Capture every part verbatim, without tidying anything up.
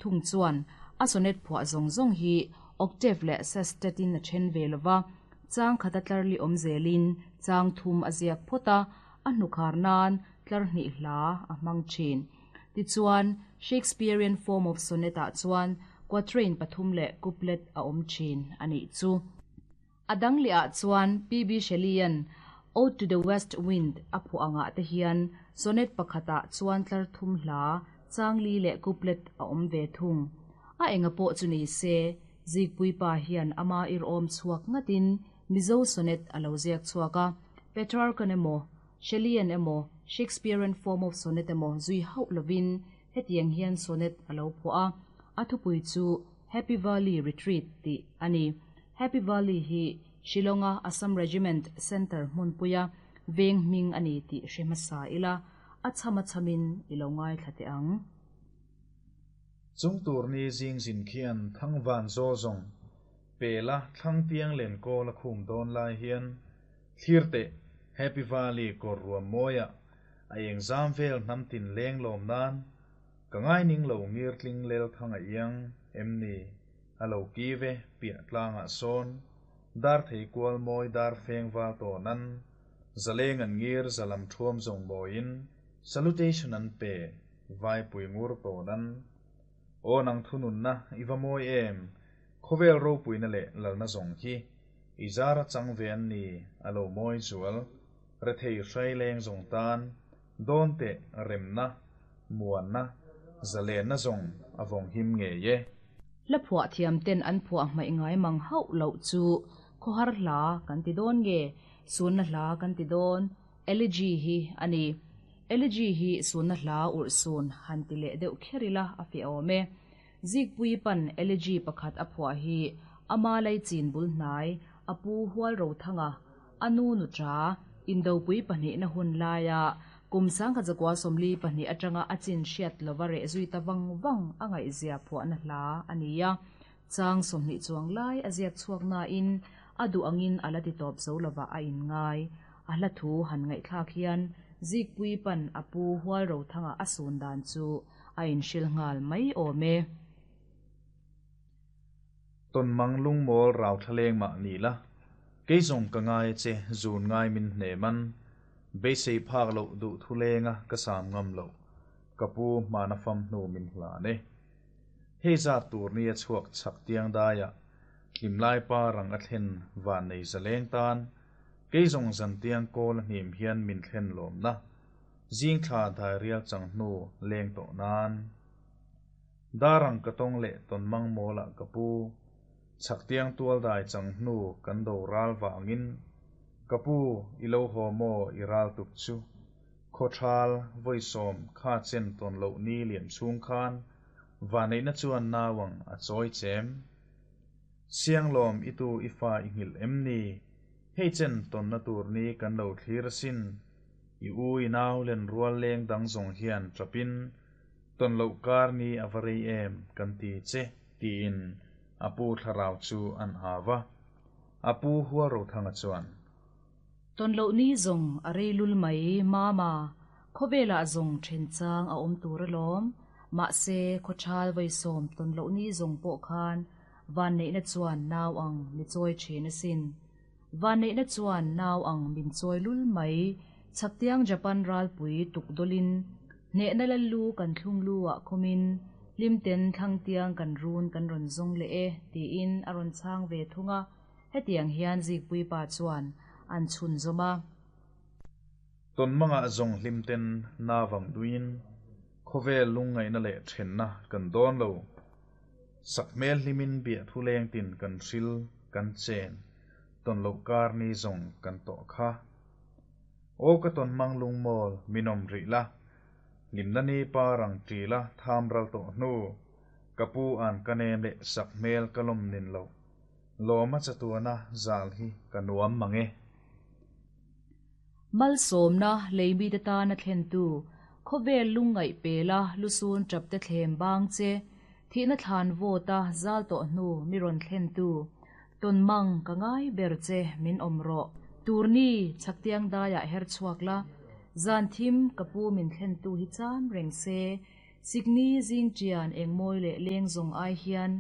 Thung chuan a sonnet phuah zawng zawng hi octave leh sestet in a then ve lova, chang khata tlar li awm zelin chang thum a ziak phawt a, a hnukhar nan tlar hnih hla a hmang thin. Tichuan Shakespearean form of sonnet ah chuan quatrain pathum leh couplet a awm thin anih chu. A dang leh ah chuan P B Shelley-an Ode to the West Wind a phuah angah te hian sonnet pakhatah chuan tlar thum hla chang li leh couplet a awm ve thung. A enga pawh chu ni se, Zikpui pa hian ama ir awm chhuak ngatin Mizo sonnet a lo ziak chhuak a, Petrarchan emaw, Shelley-an emaw, Shakespearean form of sonnet emaw zui hauh lovin hetiang hian sonnet a lo phuah a, a thupui chu Happy Valley Retreat tih a ni. Happy Valley hi Shillonga Assam Regiment Centre hmunpuia veng hming a ni tih hre hmasa ila, a cham a chamin i lo ngai thla teh ang. Chung tur ni zing zin khian thang van zawl zawng pela thlang tiang len kawl a khum dawn lai hian thlir teh Happy Valley kawr ruam mawia a eng zam vel hnam tin leng lawm nan ka ngai ning lo ngir tling lel thang a iang em ni a lo ki ve piah tlangah sawn dar thei kual mawi dar feng val to nan zaleng an ngir zalam thuam zawng mawiin salutation an pe vai pui ngur to nan aw nang thunun na i va mawi em khawvel ropui na leh lalna zawng hi i zara chang ve an ni a lo mawi zual rethei hrai leng zawng tan dawn te remna muanna zalenna zawng a vawng him nge ye. La phuah thiam ten an phuah hmai ngai mang hauh loh chu khawhar hla kan ti dawn nge sunna hla kan ti dawn elegy hi ani. Elegy hi sunna hla ur sun han ti leh deuh kherila a fi awm e. Zikpui pan elegy pakhat a phuah hi ama lai chin bul hnai apu hual ro thanga anu nu tra indopui pahnih na hun laia kum sang kha zakwa somli pahnih atanga a chin hriat lova re zui ta wang wang angai zia phuah na hla ania. Chang somni chuang lai a ziak chhuak na in adu angin ala ti tawp zo lova a in ngai. A hla thu han ngai thlak hian Zikpui pan apu hual ro thanga a sun dan chu a in hril ngal mai awm e. Ton mang lung mawl rau thaleng ma ni la kei zawng ka ngai che zun ngai min hne man beisei phak lo du thu lenga ka sam ngam lo kapu mana fam hnu min hla ne. Hei za tur ni a chhuak chak tiang daia hlim lai pa rang a thlen van nei zaleng tan kei zawng zan tiang kawl a hnim hian min thlen lawm na zing thla dai rial chang hnu leng to nan darang ka tong leh ton mang mawla kapu chak tiang tual dai chang hnu kan do ral wangin kapu ilo ho mo i ral tuk chu khothal voisom kha chen ton lo ni liam chung khan vanei na chuan nawang a choi chem siang lom itu ifa i ngil em ni hei chen ton na tur ni kan lo thlir sin i u i nau len rual leng dang zawng hian trapin ton lo kar ni avarei em kan ti che tiin apu thlarau chu an hawa apu hual ro thanga chuan ton lo ni zawng a rei lul mai mama khawvela zawng then chang a awm tur alawm ma se khawthal veisom ton lo ni zawng pawh khan van nei na chuan nau ang mi chawi thin asin. Van nei na chuan nau ang min chawi lul mai chaktiang Japan ral pui tuk dolin hne na lalu kan thlung lu ah khumin limten thlang tiang kan run kan ron zawng le e tiin a rawn chang ve thunga hetiang hian Zikpui pa chuan an chhun zawma. Ton manga zawng hlimten na wang duin khawvel lungngai na leh then na kan dawn lo sakmel hlimin bia thu leng tin kan hril kan chen ton lo kar ni zawng kan to kha o ka ton mang lung mawl minom ri la limna ni pa rang ti la tham ral to hnu kapu an kanem le sakmel kalom nin lo loma chatuana zal hi kanuam mange. Mal somna leimi te ta na thlen tu khawvel lungngai pela lusun trap te thlem bang che thi na thlan vo ta zal to hnu mi ron thlen tu ton mang ka ngai ber che min om ro turni chaktiang daya her chuak la zan thim kapu min thlen tu hi cham reng se Sikni zing chian eng mawi leh leng zawng ai hian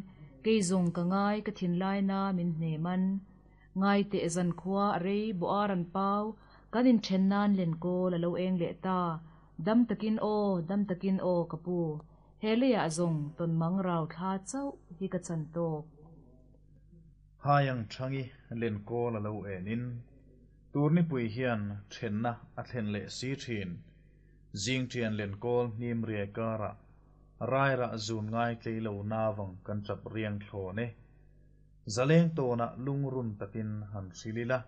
kei zawng ka ngai ka thinlai na min hne man. Ngai teh zan khua a rei bawh ar an pau kan inthen nan len kawl a lo eng leh ta. Dam takin aw, dam takin aw ka pu. He leiah zawng tawn mang rau thla chauh hi ka chan tawk. Hai ang thangi len kawl a lo enin turni pui hian thenna a thlen leh si thin. Zing thian len kawl hnim rie kara rai ra zun ngai tlei lo nawang kan chap riang thlone. Zaleng tona lungrun takin han hrilila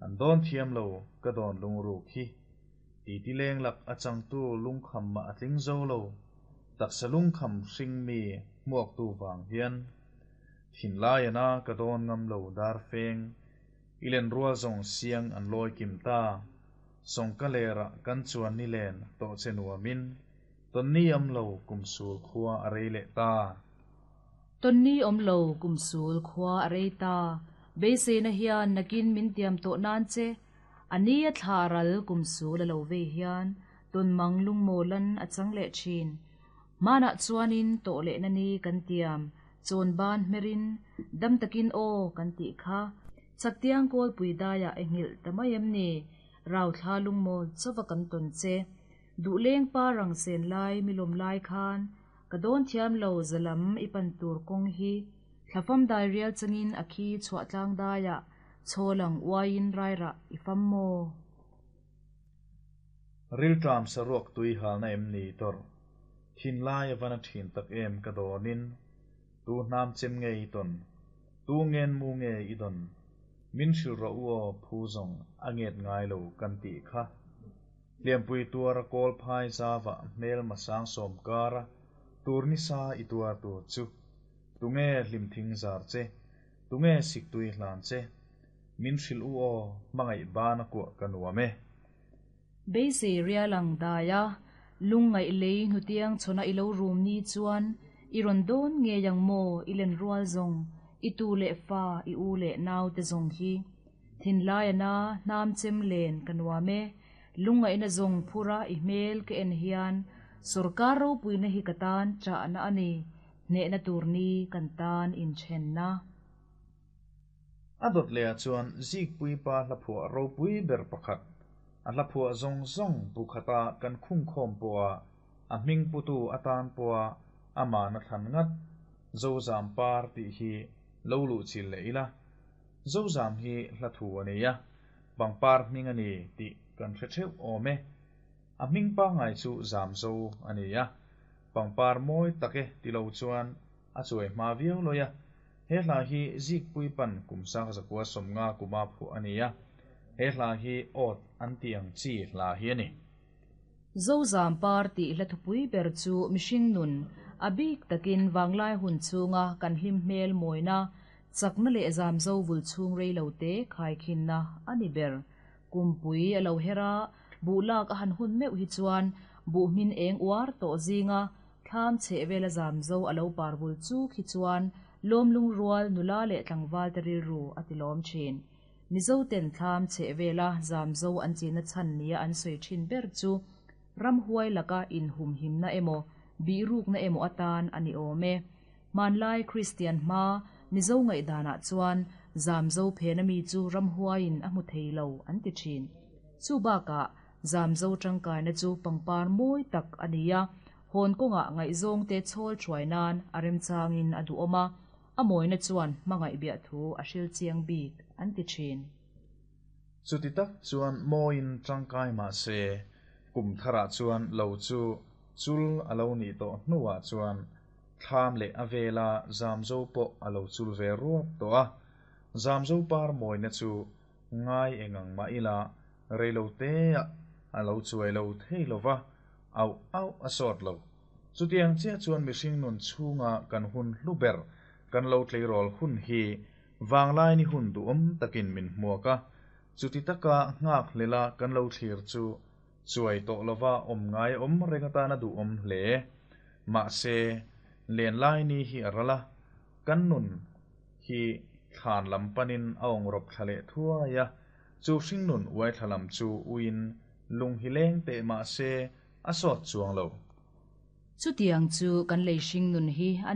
an dawn thiam lo ka dawn lungru khi ti ti leng lak achang tu lungkham ma atling zo lo taksa lungkham hring mi hmuak tu wang hian thin lai ana ka dawn ngam lo dar feng ilen rual zong siang an loi kim ta song ka lera kan chuan ni len to che nuamin ton ni am lo kum sul khua a rei le ta. Ton ni om lo kum sul khua a rei ta beisei na hian nakin min tiam to nan che ani a thla ral kum sul a lo ve hian ton mang lung molan a chang le thin. Mana chuanin to le na ni kan tiam chon ban merin dam takin aw kan ti kha chaktiang kol pui daya engil tamayem ni rau thla lung mol chawa kan ton che du leng pa rang sen lai milom lai khan ka don thiam lo zalam ipan tur kong hi thlafam dai rial changin akhi chhuah tlang daya cholang uain raira ifam mo. Ril tram saruak tui hal na em ni tor thin lai avana thin tak em ka donin tu nam chem ngei ton tu ngen mu nge idon min hril ro uo phu zong anget ngai lo kan ti kha liampui tuara kol phai zawa mel masang som kara turni sa ituar tur chu tunge hlim thing zar che tunge sik tui hlan che min hril uo mangai bana ku kanuame. Beisei rialang daya lungngai lei hnutiang chona ilo rum ni chuan iron don nge yang mo ilen rual zong itu le fa i u le nau te zong hi thin lai ana nam chem len kanuame lungngai na zong phura i mel ke en hian sarkar ro puina hi katan cha na ani ne na turni kan tan in chen na. Adot le chuan zik pui pa hla phua ro pui ber pakhat a hla phua zong zong bu khata kan khung khom poa a hming putu atan poa ama na than ngat zo zam par ti hi lo lu chil le ila zo zam hi hla thu ani ya bang par hming ani ti kan hre theu ome a hming pa ngai chu zam zo ani ya bang par moi take ti lo chuan a chuai ma viau loya he hla hi zik pui pan kum sang zakwa somnga kuma phu ani ya he hla hi ot an tiang chi hla hi ani. Zo zam par ti hla thupui ber chu mihring nun abik takin wanglai hun chunga kan hlim hmel moina chakna le zam zo vul chung rei lo te khai khin na ani ber kumpui alo hera bulak a han hun meu hi chuan bu min eng uar to zinga thlam che vela zam zo alo par vul chu khi chuan lom lung rual nula le tlangwal te ril ru atilom thin. Mizo ten thlam che vela zam zo an china chan nia an soi thin ber chu ram huai laka in hum him na emo bi ruk na emo atan ani ome manlai Christian ma mizo ngai dana chuan zam zo phena mi chu ram huai in a mu theilo an ti thin. Chu ba ka zam zo tangkai na chu pangpar moi tak ania hon konga ngai zong te chol thuai nan arem changin adu oma amoi na chuan mangai bia thu a hril chiang bik an ti thin. Chuti tak chuan moin tangkai ma se kum thara chuan lo chu chul alo ni to hnuwa chuan thlam le avela zamzo po alo chul ve ruap to a zamzo par moi na chu ngai engang ma ila reilo te alo chuai lo thei lova au au a sot lo chutiang che chuan mihring nun chunga kan hun hluber kan lo tleirol hun hi wanglai ni hun du om takin min hmuaka chuti taka ngak lela kan lo thlir chu chuai to lova om ngai om rengata na du om hle ma se len lai ni hi arala kan nun hi than lampanin aong rop thlale thuaya chu hring nun uai thalam chu uin lung hi leng te ma se a sot chuang lo. Chutiang chu kan lei hring nun hi a